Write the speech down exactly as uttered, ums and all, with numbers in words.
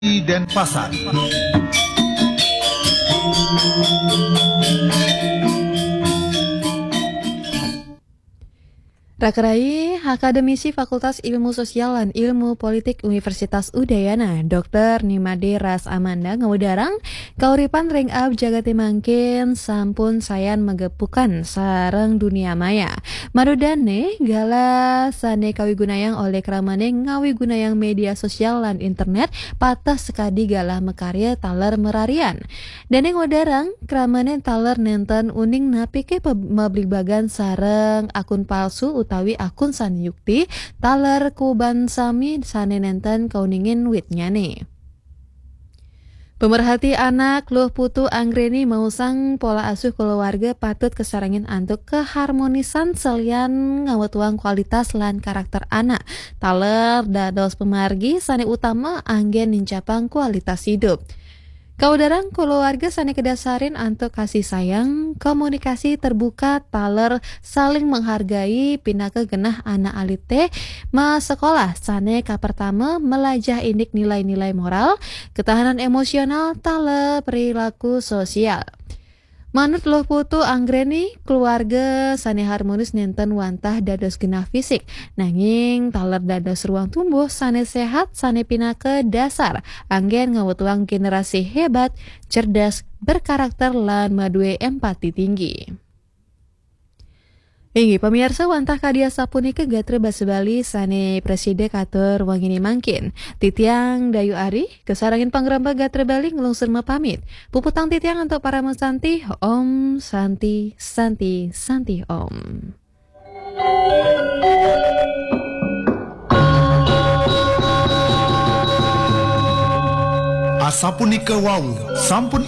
Denpasar. Rakerai, akademisi Fakultas Ilmu Sosial lan Ilmu Politik Universitas Udayana, Doktor Nimade Ras Amanda ngawedarang kauripan ring abjagate mangkin sampun sayan magepukan sareng dunia maya. Madodane galah sane kawigunayang olih kramane ngawigunayang media sosial lan internet pateh sakadi galah makarya taler mararian. Dane ngawedarang kramane taler nenten uning napike pe-, mabligbagan sareng akun palsu utawi akun sane yukti, taler kuban sami sane nenten kauningin witnyane. Pemerhati anak Luh Putu Anggreni maosang pola asuh kulawarga patut kasarengin antuk kaharmonisan salian ngawetuang kualitas lan karakter anak. Taler dados pamargi sane utama anggen nincapang kualitas idup. Kawedarang kulawarga sane kadasarin antuk kasih sayang, komunikasi terbuka, taler saling menghargai, pinaka genah anak alite masekolah sane kapertama melajah indik nilai-nilai moral, ketahanan emosional, taler perilaku sosial. Manut Luh Putu Anggreni, keluarga sane harmonis nenten wantah dados genah fisik, nanging taler dados ruang tumbuh sane sehat, sane pinaka dasar anggen ngawetuang generasi hebat, cerdas, berkarakter, lan madue empati tinggi. Inggih, pamiarsa, wantah kadi asapunika gatra basa Bali sane prasida katur wangine mangkin. Titiang Dayu Ari, kasarengin pangrembag gatra Bali nglungsur mapamit. Puputang titiang antuk parama santi, Om Santi, Santi, Santi Om. Asapunika wau, sampun